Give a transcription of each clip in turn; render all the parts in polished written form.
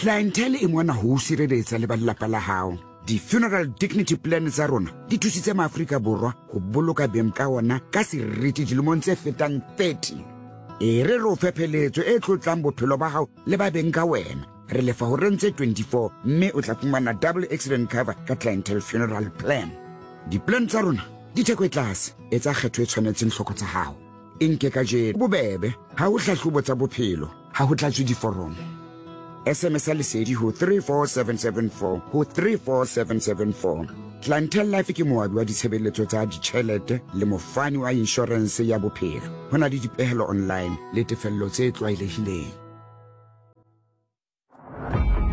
Clientele e mona ho o sireletsa le ba lelapa la hao. Di-funeral dignity plan tsa rona di thusitse maAfrika Borwa ho boloka beng ka ona ka seriti dilemong tse fetang 30. E re re o fe pheletso e tlotlang bophelo ba hao le ba beng ka wena. Re lefa horeng tse 24 mme o tla fumana double accident cover ka Clientele Funeral Plan. Di-plan tsa rona di theko e tlase, etsa kgetho e tshwanetseng tlhoko tsa hao. E nke kajeno. Bobebe, ha ho hlahlobo tsa bophelo, ha ho tlatswe diforomo. SMS ya Lesedi ho 34774 ho 34774. Clientele Life ke moabi wa ditshebeletso tsa ditjhelete le mofani wa inshorense ya bophelo. Ho na le dipehelo online le tefello tse tlwaelehileng.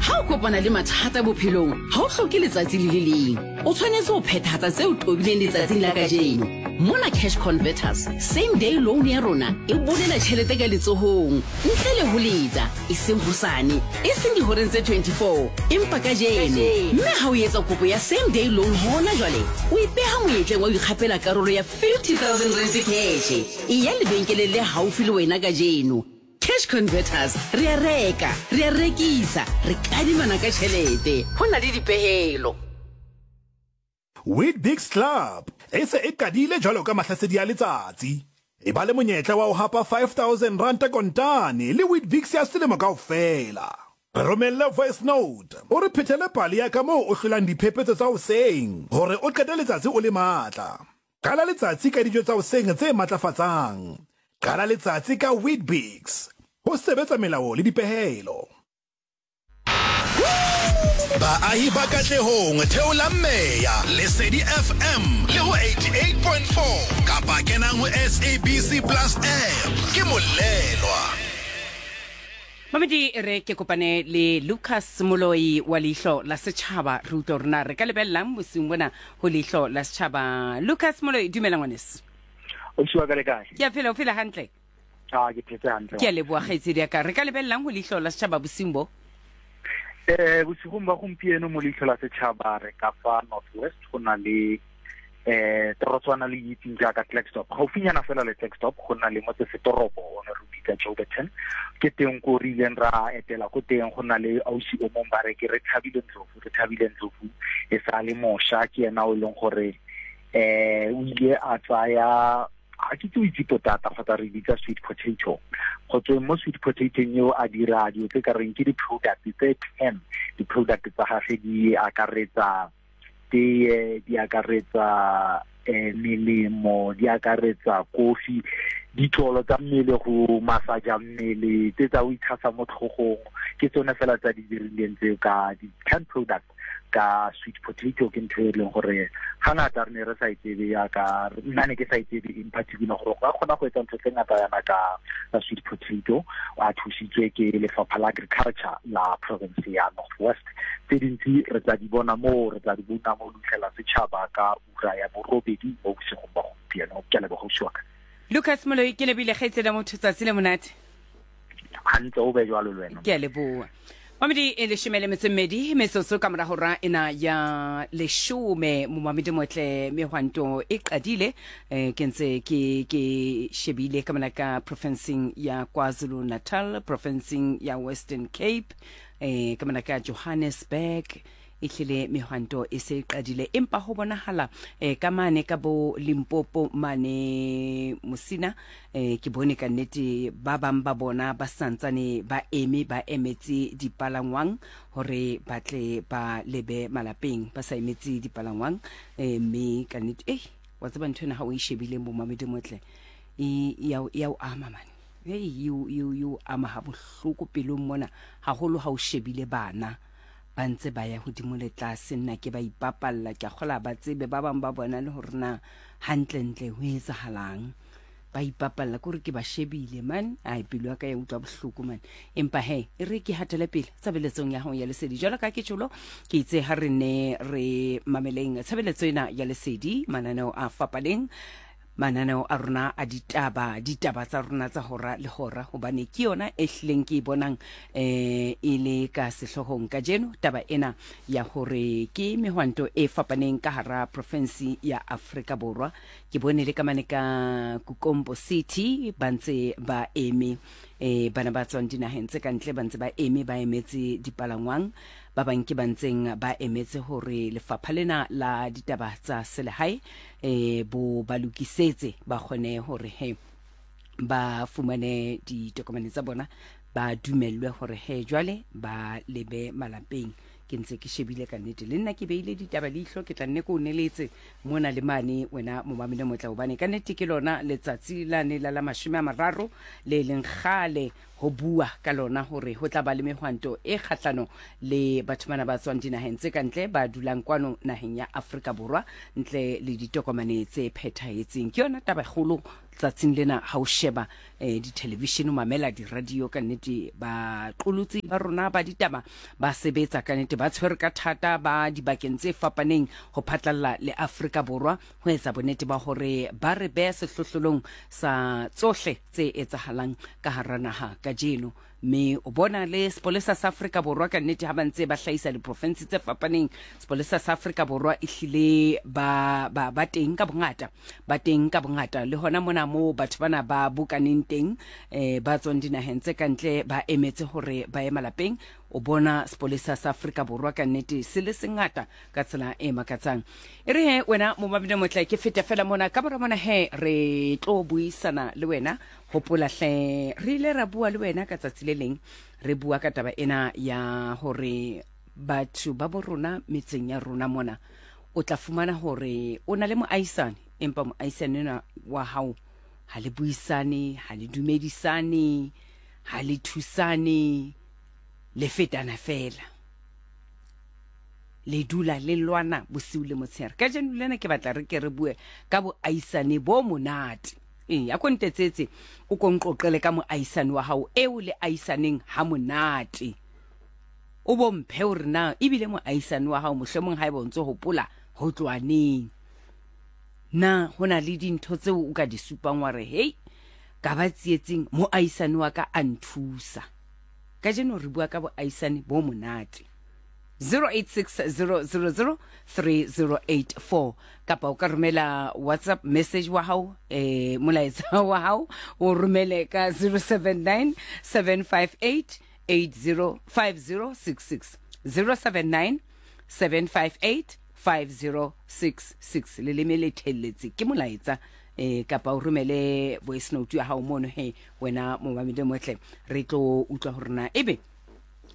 Ha o kopana le mathata bophelong, ha o hloke letsatsi le le leng. O tshwanetse ho phethahatsa tse o tobileng letsatsing la kajeno. Mona Cash Converters, same day loan ya rona e bolela tjhelete ka letsohong, ntle le ho leta, e seng hosane, e seng dihoreng tse 24, empa kajeno. Mme ha o etsa kopo ya same day loan hona jwale, o ipeha monyetleng wa ho ikgapela karolo ya 50,000 rand cash. Eya lebenkeleng le haufi le wena kajeno. Cash Converters, re a reka, re a rekisa, re kadimana ka tšhelete. Ho na le dipehelo. Weet-Bix Club e se e qadile jwalo ka mahlasedi a letsatsi. E ba le monyetla wa ho hapa R5000 kontane le Weet-Bix ya selemo kaofela. Re romelle voice note o re phethele pale ya ka moo o hlolang diphephetso tsa hoseng hore o qete letsatsi o le matla. Qala letsatsi ka dijo tsa hoseng tse matlafatsang. Qala letsatsi ka Weet-Bix. Ho sebetsa melao le dipehelo. Baahi ba Katlehong, theolang meya, Lesedi FM le ho 88.4 kapa kenang ho SABC Plus app. Ke Molelwa. Mamedi e re ke kopane le Lucas Moloi wa Leihlo la Setšhaba re utlwe gore na re ka lebelelang bosiung bona ho Leihlo la Setšhaba. Lucas Moloi, dumela ngwaneso. Ausi wa ka le kae? Ke a phela, o phela hantle? Ah, ke phetse hantle. Ke a leboa kgaitsedi ya ka. Re ka lebelelang ho Leihlo la Setšhaba bosiung bo? Eh, bosigong ba gompieno mo Leihlo la Setšhaba re ka fa North West go na le eh torotswana le itseng jaaka Klerksdorp gaufinyana fela le Klerksdorp go na le motse setoropo o ne re bitsa Jouberton ke teng ko re ileng ra etela ko teng go na le ausi o mong ba re ke re Thabile Ndlovu re Thabile Ndlovu e sa le mosha ke ena o e leng gore eh o ile a tsaya ga ke tse o itse potata kgotsa re bitsa sweet potato go tsweng mo sweet potato eo a dira dilo tse ka reng ke di-product tse 10 di-product tsa gage di akaretsa teye di akaretsa eh, melemo di akaretsa kofi ditlolo tsa mmele go masaja mmele tse tsa o itshasa mo tlhogong ke tsone fela tsa di dirileng tseo ka di-canned product ka sweet potato ke ntho e leng gore ga ngata re ne re sa e tsebe yaka nna ne ke sa e tsebe in particular gore go ka kgona go etsa ntho tse ngata yana ka ka sweet potato a thusitswe ke lefapha la agriculture la province ya North West tse dintsi re tla di bona moo re tla di bona mo lutlhela setšhaba ka ura ya borobedi mo bosigong ba gompieno ke a leboga ausi wa ka Lucas Moloi ke lebile kgaitsedi ya motho tsatsi le monate hantle o be jwalo le wena ke a leboa mamedi e leshome le metso e mmedi metsotso ka mora hora ena ya leshome momamedi motle mehwanto e qadile eh, ke ntse ke ke shebile ka mona ka profinseng ya kwazulu natal profinseng ya western cape eh ka mona ka Johannesburg ehlile mehwanto e se e qadile empa ho bonahala eh, ka mane ka bo Limpopo mane Musina eh, ke bone ka nnete ba bang ba bona ba santsane ba eme ba emetse dipalangwang hore ba tle ba lebe malapeng ba sa emetse dipalangwang eh, mme ka nnete eh wa tseba ntho ena ha o e shebile momamedi motle e ya o ama mane Hei, e o, e o, e o ama habohloko pelong mona, haholo ha o shebile bana ba ntse ba ya hodimo le tlase. Nna ke ba ipapalla, ke a kgola ba tsebe ba bang ba bona le hore na hantlentle ho etsahalang. Ba ipapalla, ke hore ke ba shebile man, ai pelo ya ka ya utlwa bohloko man. Empa he, e re ke hatele pele tshebeletsong ya hao ya lesedi. Jwalo ka ke tjholo, ke itse ha re ne re mameleng tshebeletso ena ya lesedi, mananeo a fapaneng. Mananeo a rona a ditaba, ditaba tsa rona tsa hora le hora, hobane ke yona e hlileng ke e bonang eh e le ka sehloohong kajeno, taba ena ya hore ke mehwanto e fapaneng ka hara profensi ya Afrika Borwa. Ke bone le ka mane ka Kukombo City ba ntse ba eme. E, bana ba tswang dinaheng tse ka ntle ba ntse ba eme ba emetse dipalangwang, ba bang ke ba ntseng ba emetse hore lefapha lena la ditaba tsa selehae e, bo ba lokisetse ba kgone hore he ba fumane ditokomane tsa bona ba dumellwe hore he jwale ba lebe malapeng. Ke ntse ke shebile ka nnete le nna ke beile ditaba leihlo, ke tla nne ke o neletse mona le mane wena momamele motla, hobane ka nnete ke lona letsatsi lane la la 30 le leng kgale ho bua ka lona hore ho tla ba le mehwanto e kgahlano le batho bana ba tswang dinaheng tse ka ntle ba dulang kwano naheng ya Afrika Borwa ntle le ditokomane tse phethahetseng. Ke yona taba kgolo tsatsing lena ha o sheba eh, dithelevishene o mamela diradio, ka nnete baqolotsi ba rona ba ditaba ba sebetsa ka nnete, ba tshwere ka thata ba dibakeng tse fapaneng ho phatlalla le Afrika Borwa ho etsa bonnete ba hore ba re beha sehlohlolong sa tsohle tse etsahalang ka hara naha kajeno. Mme o bona le sepolesa sa Afrika Borwa ka nnete ha ba ntse ba hlahisa diprofensi tse fapaneng, sepolesa sa Afrika Borwa ehlile ba, ba, ba teng ka bongata, ba teng ka bongata le hona mona moo batho bana ba bokaneng teng, eh, ba tswang dinaheng tse ka ntle ba emetse hore ba ye malapeng. O bona sepolesa sa Afrika Borwa ka nnete se le sengata ka tsela e makatsang. E re he wena momamedi motle ke fete fela mona ka mora mona he re tlo buisana le wena. Hopola hle, re ile ra bua le wena ka tsatsi le leng, re bua ka taba ena ya hore batho ba bo rona metseng ya rona mona, o tla fumana hore o na le moahisane, empa moahisane enwa wa hao ha le buisane, ha le dumedisane, ha le thusane, le fetana fela. Le dula le lwana bosiu le motshehare. Kajeno lena ke batla re ke re bue ka boahisane bo monate. Ee, a ko ntetsetse, o ko nqoqele ka moahisani wa hao eo le ahisaneng ha monate. O bo mphe hore na ebile moahisani wa hao mohlomong haeba o ntso hopola ho tloha neng. Na ho na le dintho tseo o ka di supang wa re, hei, ka ba tsietsing moahisani wa ka a nthusa. Kajeno re bua ka boahisani bo monate. 0860003084 kapa o ka romela WhatsApp message wa hao, eh, molaetsa wa hao o romele ka 079 758 805066, 079 758 5066. Leleme le thelletse ke molaetsa, eh, kapa o romele voice note ya hao mono he wena momamedi motle, re tlo utlwa hore na ebe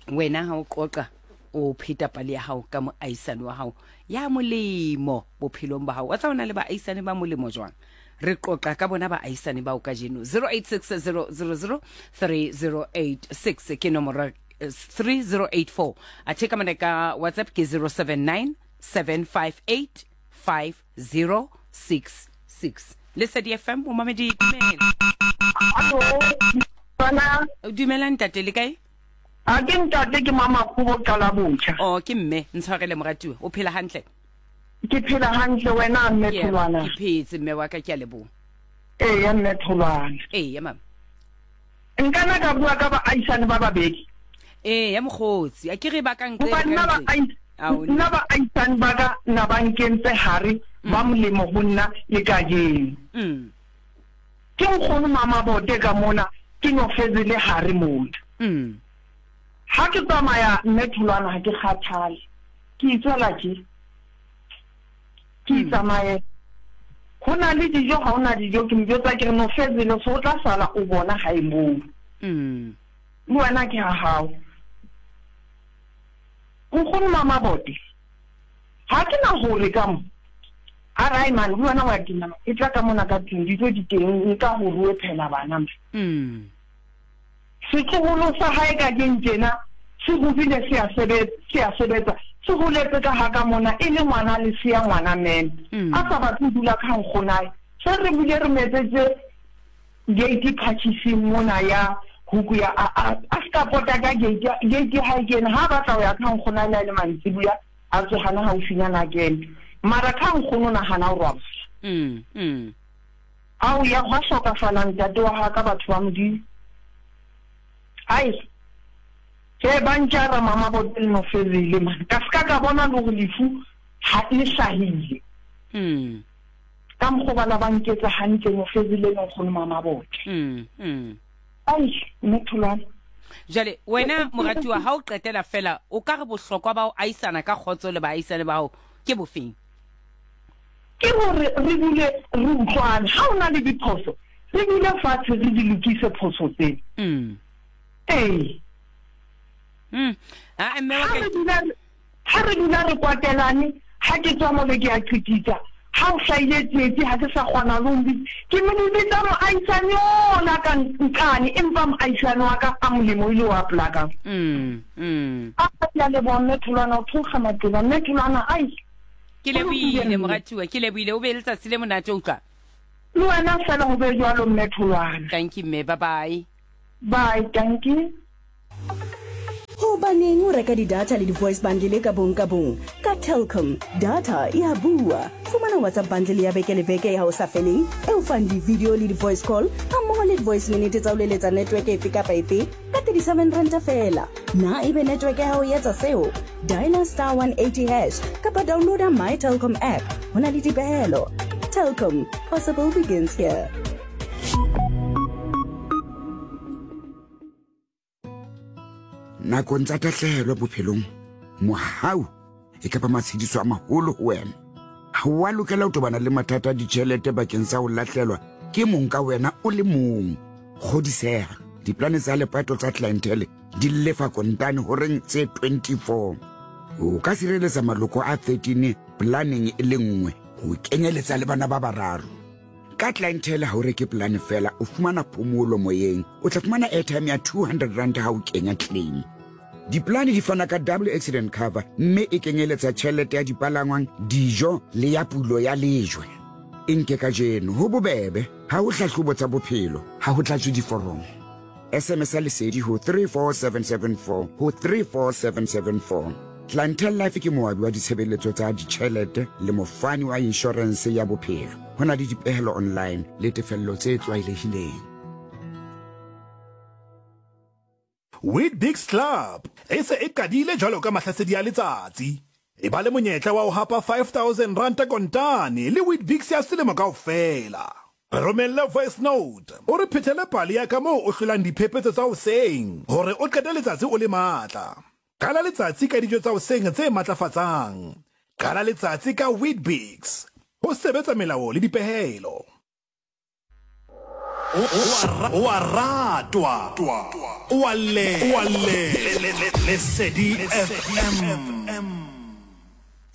wena ha o qoqa o pheta pale ya hao ka moahisane wa hao ya molemo bophelong ba hao. Wa tsa ona le baahisane ba molemo jwang? Re qoqa ka bona baahisane bao kajeno. 0860003086 ke nomoro, 3084. Athe ka mona ka WhatsApp ke 079 758 5066. Lesedi FM, momamedi, dumela. Hallo, bana. Dumela ntate, le kae? A ke ntate, ke Mamakgobo qala botjha. Oh, ke mme, ntshwarele moratuwa. O phela hantle? Ke phela hantle wena mme Tholwana. Ke phetse mme wa ka, ke a leboha. Eya mme Tholwana. Eya mama. Nka na ka bua ka baahisane ba babedi. Eya mokgotsi, a ke re ba ka nqele ka nna nna baahisane ba ka na ba nkentse hare ba molemo ho nna le kajeno. Ke nkgono Mamabote ka mona, ke nyofetse le hare mona. Ha ke tsamaya mme Tholwana ha ke kgathale, ke itswela tje. Ke itsamaela. Ho na le dijo, ha ho na dijo, ke mo jwetsa ke re Nofezile so o tla sala o bona hae moo. Le wena ke ha hao. Nkgono Mamabote, ha ke na hore ka mo. A re, Ai man, le wena wa tena man, e tla ka mona ka tlung, dijo di teng, nka ho rue phela bana man. Setloholo sa hae kajeno tjena se hodile se a sebetsa, se a sebetsa, se holetse ka ha ka mona e le ngwana lesea ngwana meme. A sa batle ho dula ka ha nkgonae. Se re bile re mo etsetse gate phatjhising mona ya huku ya a, a, a ska pota ka gate, gate ya hae ke ena. Ha a batla ho ya ka ha nkgonae le ha e le mantsibuya, a tswe hana haufinyana a kene. Mara ka ha nkgono o nahana ho robala. Ao ya gwa hlokafala ntate wa ga ka batho ba Modimo. Ai he ba ntjara mama bote le Nofezile man ka ska ka bona le gore lefu ha le hlahile. Ka mokgo ba la ba nketsa hantle Nofezile le nkgono mama bote. Ai, mme Tholwana. Jwale wena moratuwa ha o qetela fela o ka re bohlokwa ba ho ahisana ka kgotso le baahisane ba hao ke bofeng? Ke hore re dule re utlwane. Ha o na le diphoso, re dule fatshe re di lokise phoso tseo. Mm. Ee. Mm. Ah, mme wa Ha ka re dula Ha re dula re kwatelane, ha ke tswa mole ke a qititsa. Ha o hlahile tsietsi ha ke sa kgona le ho mbitsa. Ke ne ke bitsa moahisani ona ka nqane empa moahisani wa ka a molemo e le wa pela ka. A ke a leboha Mme Tholwana, o theoha maqeba. Mme Tholwana, ai! Ke Ho lokile lebohile mme. moratuwa, ke lebohile. O be le letsatsi le monate utlwa. Le wena feela ho be jwalo Mme Tholwana. Tanki mme, bye bye. Bye, tanki. Hobaneng o reka di-data le di-voice bundle ka bong ka bong? Ka Telkom, data e a bua. Fumana WhatsApp bundle ya beke le beke ya ho sa feleng e o fang di-video le di-voice call hammoho le di-voice minute tsa ho leletsa network efe kapa efe ka 37 ranta feela. Na ebe network ya hao e etsa seo? Dialer star 180 hash kapa downloada My Telkom app. Ho na le dipehelo. Telkom, possible begins here. Nakong tsa tahlehelo bophelong, mohau e ka ba matshediso a maholo ho wena. Ha o a lokela ho tobana le mathata a ditjhelete bakeng sa ho lahlelwa ke mong ka wena o le mong. Kgodiseha, diplane tsa lepato tsa Clientele di lefa kontane horeng tse 24. O ka sireletsa maloko a 13 planeng e le nngwe ho kenyeletsa le bana ba bararo. Ka Clientele ha o reke polane fela, o fumana phomolo moyeng. O tla fumana airtime ya 200 rand ha o kenya claim. Dipolane di fana ka double accident cover mme e kenyeletsa tjhelete ya dipalangwang, dijo le ya pulo ya lejwe. E nke kajeno, ho bobebe, ha ho hlahlobo tsa bophelo, ha ho tlatswe diforomo. SMS ya Lesedi ho 34774 ho 34774. Clientele Life ke moabi wa ditshebeletso tsa ditjhelete le mofani wa inshorense ya bophelo. Ho na le dipehelo online le tefello tse tlwaelehileng. Weet-Bix Club e se e qadile jwalo ka mahlasedi a letsatsi. E ba le monyetla wa ho hapa R5000 kontane le Weet-Bix ya selemo kaofela. Re romelle voice note o re phethele pale ya ka moo o hlolang diphephetso tsa hoseng hore o qete letsatsi o le matla. Qala letsatsi ka dijo tsa hoseng tse matlafatsang. Qala letsatsi ka Weet-Bix. Ho sebetsa melao le dipehelo. O a ratwa, o a llelwa. Lesedi FM.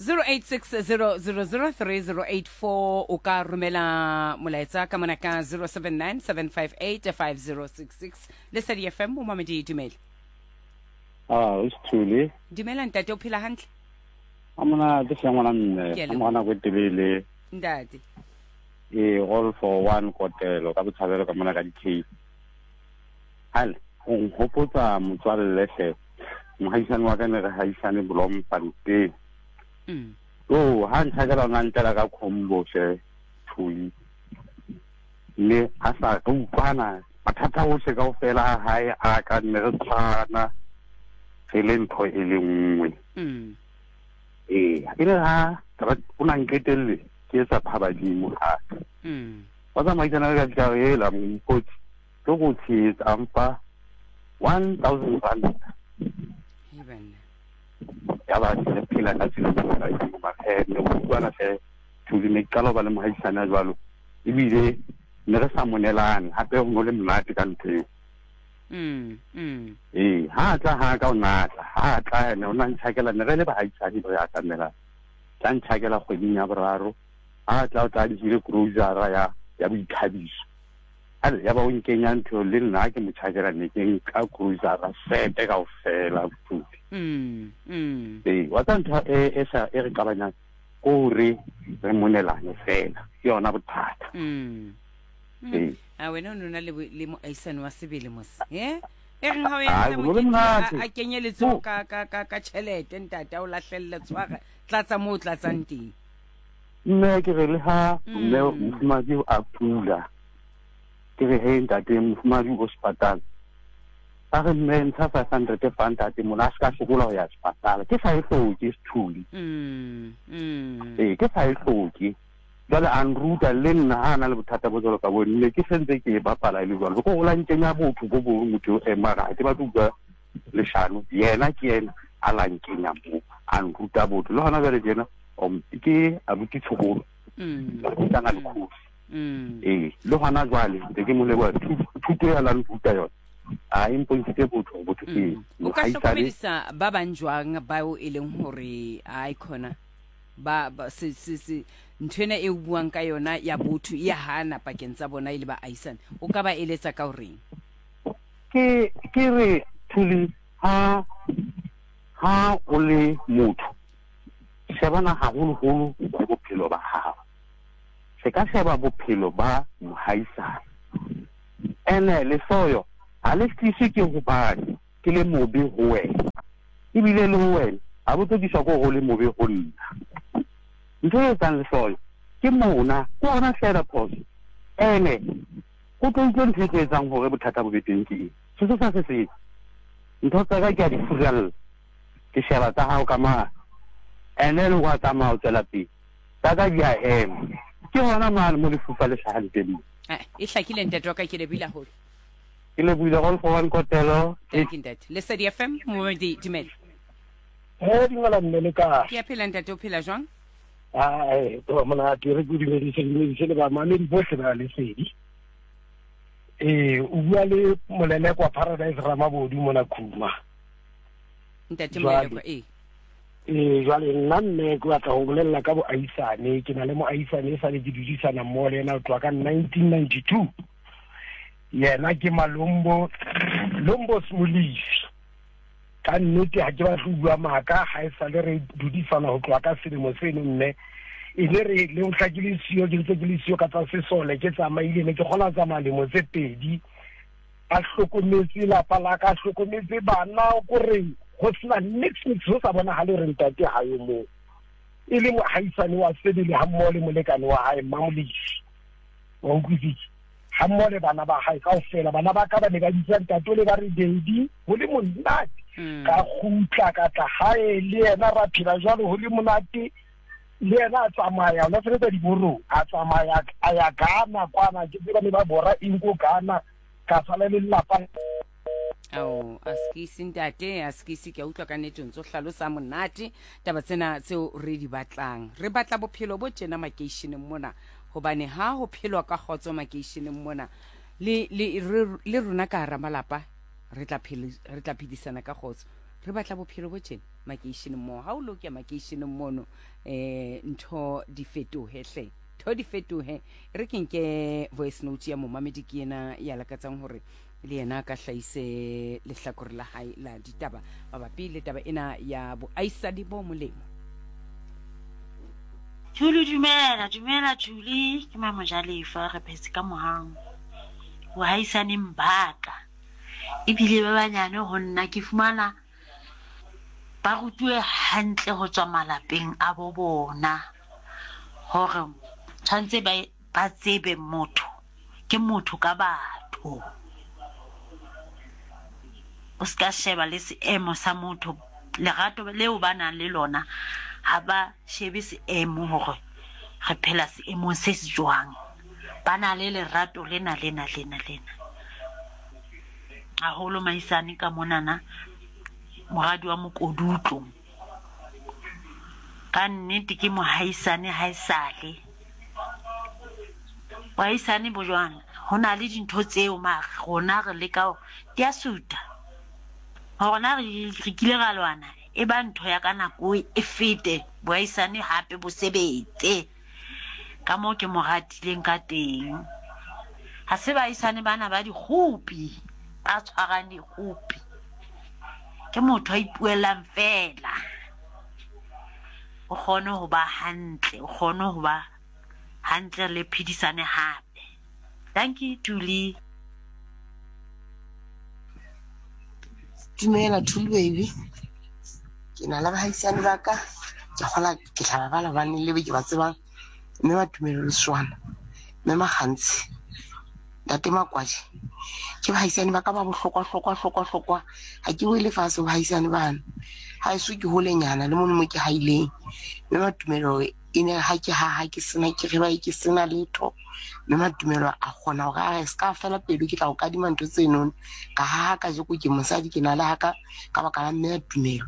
0860003084 o ka romela molaetsa ka mona ka 0797585066 Lesedi FM o mamedi dumela. Ah, o Sithule. Dumela ntate o phela hantle? A monate hle ngwana mme, Ke a a mora nako e telele. Ntate. Ee, all for one kotelo ka botshabelo ka mona ka di-case. Hale, o nkgopotsa motswalle hle. Mohaisane wa ka ne re haisane Bloemfontein. Mm. Yo, ha ntjhakela o na ntlela ka combo hle, Thuli. Mme a sa re utlwana mathata ohle kaofela a hae a ka nne re tshwana re le ntho e le nngwe. Mm. Ee, e le ha o na nqetelle ke etsa phabadimo hape. Mm. Wa tsamaisana le ka fihla re ela mokgotsi ke go tshehetsa a mfa 1000 rand. Hei banna. Ya ba re phela ka tsela e nngwe mara he ne go utlwana hle Thuli ne ke qala ho ba le mohaisane a jwalo ebile ne re sa monelane hape ho no le monate ka ntho eo. Mm, mm. Ee, ha tla ha ka o natla, ha tla ene o na ntjhakela ne re le bahaisane re atamelana. Tla ntjhakela kgweding ya boraro, ha tla o tla dihile grocery ya ya boithabiso. Ale ya ba o nkenya ntho le nna ke mo tjhakela ne ke nka grocery sete kaofela bothuti. Mm, mm. Ee, wa tsa ntho e e sa e re qabanyang ko re re monelane fela ke yona bothata. Mm. Mm. Ee. A wena o ne o na le bo- le moahisane wa sebele mos. Eh? E reng ha o Ai, entse ho no le mokete monate. a kenye letsoho ka ka ka ka tjhelete ntate a o lahlelle tshwara tlatsa moo o tlatsang teng. Mme ke re le ha mme mofumahadi a kula, ke re he ntate mofumahadi o sepatala. A re mme ntsha 500 fa ntate mona a se ka sokola ho ya sepatala. Ke sa e hloke Sethuli. Mm, mm. Ee, ke sa e hloke. Jwale a nruta le nna ha a na le bothata bo jwalo ka bo, ne ke sentse ke e bapala e le jwalo. Ke gore o la nkenya botho bo bong motho eo, mara ha ke batle ho utlwa leshano. Yena ke yena a la nkenya moo, a nruta botho. Le hona jwale tjena ke abuti Tshokolo, ka na le khosi. Ee, le hona jwale ntse ke mo leboha thuto ya la nruta yona. A e mpontshitse botho hore botho ke eng. O ka hlokomedisa ba bang jwang bao e leng hore ai khona ba, ba se, se, se, ntho ena e o buang ka yona ya botho e ya hana pakeng tsa bona e le baahisane, o ka ba eletsa ka horeng? Ke, ke re Thuli, ha, ha o le motho, shebana haholoholo le bophelo ba hao. Se ka sheba bophelo ba mohaisane. Ene lehloyo ha le tliswe ke hobane ke le mobe ho wena, ebile le ho wena ha bo tlo tliswa ke hore o le mobe ho nna. Ntho e etsang lehloyo ke mona, ke hona feela phoso. Ene o tlo utlwe ntho e tlo etsang hore bothata bo be teng ke eng. Sesosa se seng, ntho tsa ka ke a di furalla, ke sheba tsa hao ka mane, and then wa tsamaya o tswela pele, tsa ka di a ema. Ke hona mane mo lefufa le hlahang teng mo. E hlakile ntate wa ka, ke lebohile haholo. Ke lebohile all for one kotelo. Thank you ntate. Lesedi FM, momedi dumela. He dumela mme le kae? Ke a phela ntate, o phela jwang? Ai, to monate re ke dumedise dumedise le bamamedi bohle ba Lesedi. Ee, o bua le Molelekwa Paradise Ramabodu mona Khuma. Ntate Molelekwa, ee. Ee, jwale nna mme ke batla ho bolella ka boahisane. Ke na le moahisane e sale ke dudisana mmoho le yena ho tloha ka 1992. Yena ke Malombo, Lombos Molefi. Ka nnete ha ke batle ho bua maaka, ha e sale re dudisana ho tloha ka selemo seno mme e ne re le mohla ke le siyo, ke ntse ke le siyo ka tsa sesole, ke tsamaile, ne ke kgona ho tsamaya lemo tse pedi a hlokometse lapa la ka, a hlokometse bana, kore go sena nix nix, go sa bonagale gore ntate ga yo moo. E le moahisane wa sebele ga mmogo le molekane wa gae Mmamolefi, wa utlwisitse, ga mmogo le bana ba gae kaofela. Bana ba ka ba ne ba bitsa ntate o le ba re daddy, go le monate. Ka gutla ka tla gae le yena, ra phela jalo go le monate. Le yena a tsamaya, o na sebetsa diborong, a tsamaya a ya Ghana kwana, ke tseba ne ba bora eng ko Ghana, ka sala le lelapa. Ao, a sekisi ntate, a sekisi, ke a utlwa ka nnete o ntse o hlalosa monate taba tsena tseo re di batlang. Re batla bophelo bo tjena makeisheneng mona, hobane ha ho phelwa ka kgotso makeisheneng mona, le, le, re, le rona ka hara malapa re tla phele, re tla phedisana ka kgotso. Re batla bophelo bo tjena makeisheneng moo. Ha o lo kya makeisheneng mono, ntho di fetohe hle. Ntho di fetohe. E re ke nke voice note ya momamedi ke yena ya lakatsang hore le yena a ka hlahise lehlakore la hae la ditaba mabapi le taba ena ya boaisani bo molemo. Thuli dumela, dumela Thuli, ke Mamojalefa, re phetse ka mohang bohaisaneng ba ka. Ebile ba banyane ho nna ke fumana ba rutuwe hantle ho tswa malapeng a bo bona hore tshwanetse ba ba tsebe motho ke motho ka batho. O ska sheba le seemo sa motho, lerato leo ba nang le lona ha ba shebe seemo hore re phela seemong se se jwang. Ba na le lerato lena lena lena lena. Haholo maisane ka monana moradi wa mokodutlo. Ka nnete ke mohaisane haesale. Bohaisane bo jwang? Ho na le dintho tseo mare rona re leka hore di a suta. Hore na re kile ra lwana e ba ntho ya ka nako e fete bohaisane hape bo sebetse. Ka moo ke mo ratileng ka teng. Ha se baahisane bana ba dikgopi, ba tshwarang dikgopi. Ke motho a ipuellang feela. O kgone ho ba hantle, o kgone ho ba hantle le phedisane hape. Dankie Thuli. Dumela Thuli baby. Ke na le bahaisane ba ka. Ke kgola ke tla ba bala hobane le be ke ba tsebang. Mme ba Tumelo Leswana, mme Makgantshi, ntate Makwadi. Ke bahaisane ba ka ba bohlokwa hlokwa hlokwa hlokwa. Ha ke wele fatshe bahaisane bano. Haeso ke holenyana le mono mo ke haileng. Mme Matumelo e ne ha ke haha ke sena ke re ke sena letho. Mme Matumelo a kgona hore a re se ka fela pelo ke tla o kadima ntho tsenono. Ka haha kajeko ke mosadi ke na le haka ka baka la mme Tumelo.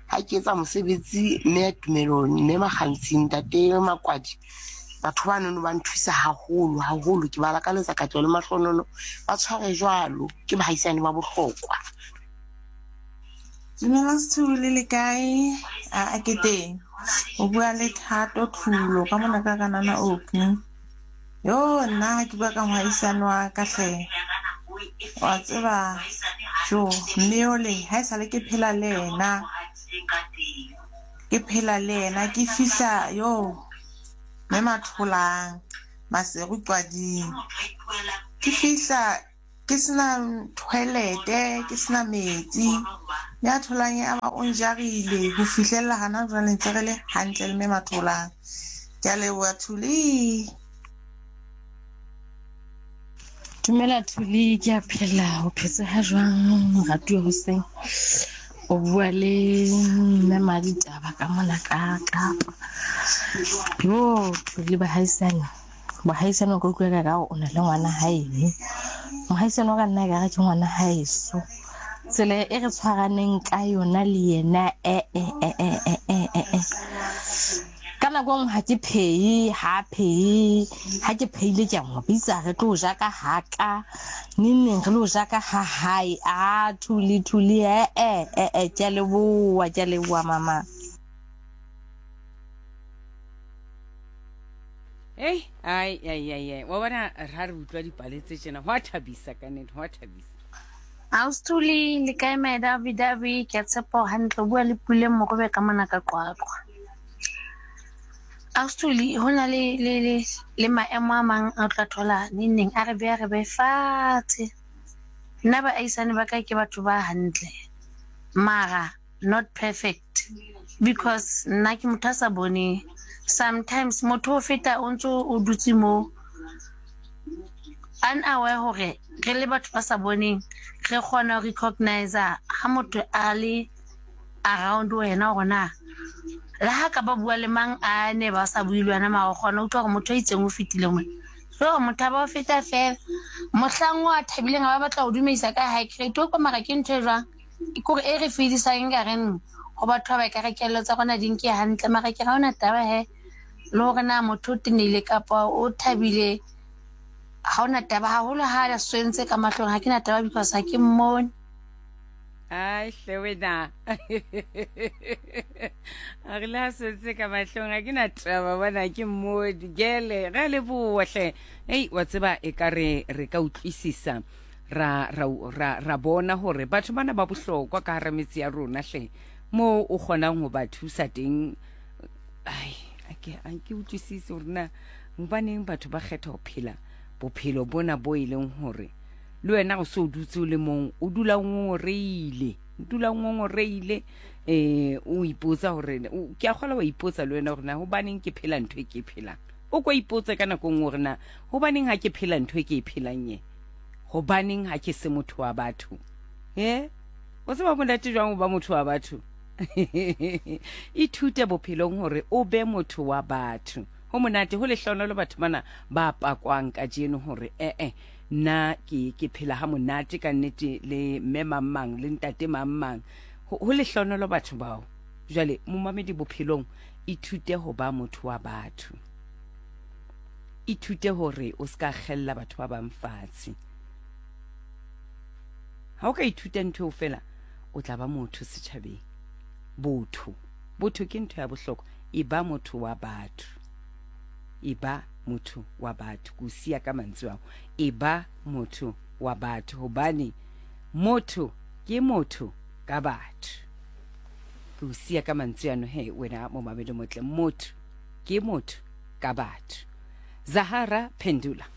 Ha ke etsa mosebetsi mme Tumelo mme Makgantshi ntate Makwadi batho ba nono ba nthusa haholo haholo ke ba lakaletsa katleho le mahlohonolo ba tshware jwalo ke bahaisane ba bohlokwa. Dumela Sethuli le kae? A ke teng. O bua le Thato Thulo ka mona ka kanana Opi. Yo nna ha ke bua ka mohaisane wa ka hle. Wa tseba jo mme ole ha e sale ke phela le yena. Ke phela le yena ke fihla yo mme Matholang Maseru Qwading. Ke fihla Ke sena toilet-e, ke sena metsi. Ya tholang ya ba o njarile ho fihlella hana jwale ntse re le hantle le mme Matholang. Ke a leboha Thuli. Dumela Thuli, ke a phela. O phetse ha jwang moratuwa hoseng? O bua le mme Maditaba ka mona ka Kapa. Yo Thuli bahaisane. Mohaisane o ka utlwa ka ka o na le ngwana haeno. Mohaisane wa ka nna ekare ke ngwana haeso. Tsela e re tshwaraneng ka yona le yena e e e e e e e e. Ka nako nngwe ha ke phehe, ha phehe, ha ke phehile ke a mo bitsa re tlo ja ka haka. Neng neng re lo ja ka ha hae. A Thuli Thuli e e e e ke a leboha, ke a leboha mama. Ei, ai, ai, ai, ai. Wa bona ra re utlwa dipale tse tjena, ho a thabisa ka nnete, ho a thabisa. Austhuli le kae my davi davi ke a tshepa o hantle o bua le Puleng Morobe ka mona ka Qwaqwa. Austhuli ho na le le le le maemo a mang a o tla thola neng neng a re beha re be fatshe. Nna baahisane ba ka ke batho ba hantle mara not perfect because nna ke motho a sa boneng sometimes motho o feta o ntse o dutse mo unaware hore re le batho ba sa boneng re kgona ho recognize ha motho a le around wena hore na le ha ka ba bua le mang a ne ba sa bue le wena mara o kgona utlwa hore motho a itseng o fetile mona so motho a ba o feta fela mohlang o a thabileng a ba batla go dumedisa ka high grade o kwa mara ke ntho e jwang Ke kore e re fedisang nka reng ho batho ba ba ekare kelello tsa rona di nke hantle mara ke ra ona taba he le hore na motho o tenehile kapa o thabile ha ona taba haholo ha a swentse ka mahlong ha ke na taba because ha ke mmone. Ai hle wena. A re le ha swentse ka mahlong ha ke na taba bona ke mmone. Gele re a leboha hle. Ei wa tseba e ka re re ka utlwisisa ra, ra, ra, ra bona hore batho bana ba bohlokwa ka hara metse ya rona hle moo o kgonang ho ba thusa teng. Ai, a ke a ke utlwisise hore na hobaneng batho ba kgetha ho phela bophelo bona bo e leng hore le wena o se o dutse o le mong, o dula o ngongoreile, o dula o ngongoreile, o ipotsa hore, ke a kgola wa ipotsa le wena hore na hobaneng ke phela ntho e ke e phelang. O ko ipotse ka nako e nngwe hore na hobaneng ha ke phela ntho e ke e phelang e. Hobaneng ha ke se motho wa batho? E? O tseba monate jwang ho ba motho wa batho? Ithute bophelong hore o be motho wa batho. Ho monate, ho lehlohonolo batho bana ba pakwang kajeno hore ee, nna ke, ke phela ha monate ka nnete le mme mang mang le ntate mang mang. Ho, ho lehlohonolo batho bao. Jwale, momamedi bophelong, ithute ho ba motho wa batho. Ithute hore o se ka kgella batho ba bang fatshe. Ha o ka ithuta ntho eo fela, o tla ba motho setjhabeng. Botho. Botho ke ntho ya bohlokwa. E ba motho wa batho. E ba motho wa batho. Ke o siya ka mantswe ao. E ba motho wa batho. Hobane motho ke motho ka batho. Ke o siya ka mantswe ano he wena momamedi motle. Motho ke motho ka batho. Zahara Phendula.